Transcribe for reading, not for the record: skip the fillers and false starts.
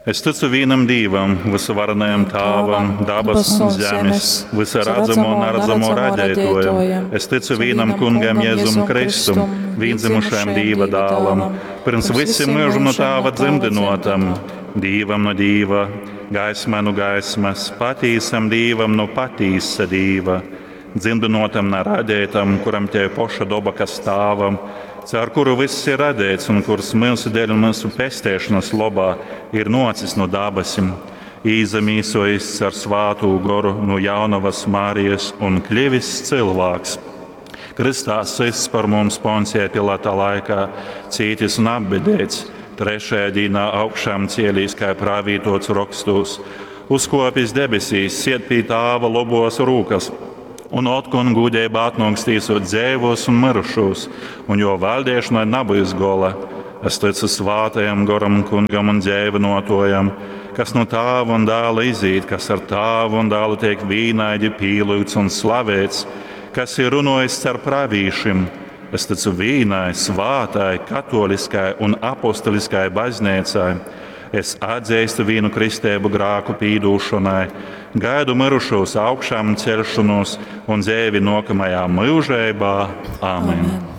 Es ticu vīnam Dīvam, vysuvarenajam Tāvam, dabas un zemes, vysa radzamo un naradzamo radētojam. Es ticu vīnam Kungam Jēzum Kristum, vīndzimušajam Dīva dālam, pirms visim myužam no Tāva dzimdinotam, Dīvam no Dīva, gaismai no gaismas, patīsam Dīvam no patīsa Dīva, dzimdinotam na radētam, kuram te poša doba, kas Tāvam, caur kuru viss ir radēts un kurs mūsu dēļ un mūsu pestēšanas lobā ir nocis no dabasim, īzamīsojis ar svātū goru no jaunavas Marijas un kļivis cilvēks. Kristā sists par mums Poncija Pilata laikā, cītis un apbedēts, trešajā dīnā augšām cielīs, kā pravītots rakstos, uzkopis debesīs, siet pie tāva lobos rūkas, un otkon gudībā atnāks tīsot dzēvos un mirušos, un jo valdīšanai nebūs gola. Es ticu svātajam goram, kungam un dzēvinotojam, kas no tāva un dēla izīt, kas ar tāvu un dēlu tiek vīnaidi pīlūgts un slavēts, kas ir runājis caur pravīšiem. Es ticu vīnai, svātai, katoliskai un apostoliskai baznīcai. Es atzīstu vīnu kristēbu grāku pīdūšanai, gaidu mirušos augšām celšanos un dzēvi nokamajā mūžībā. Āmen! Amen.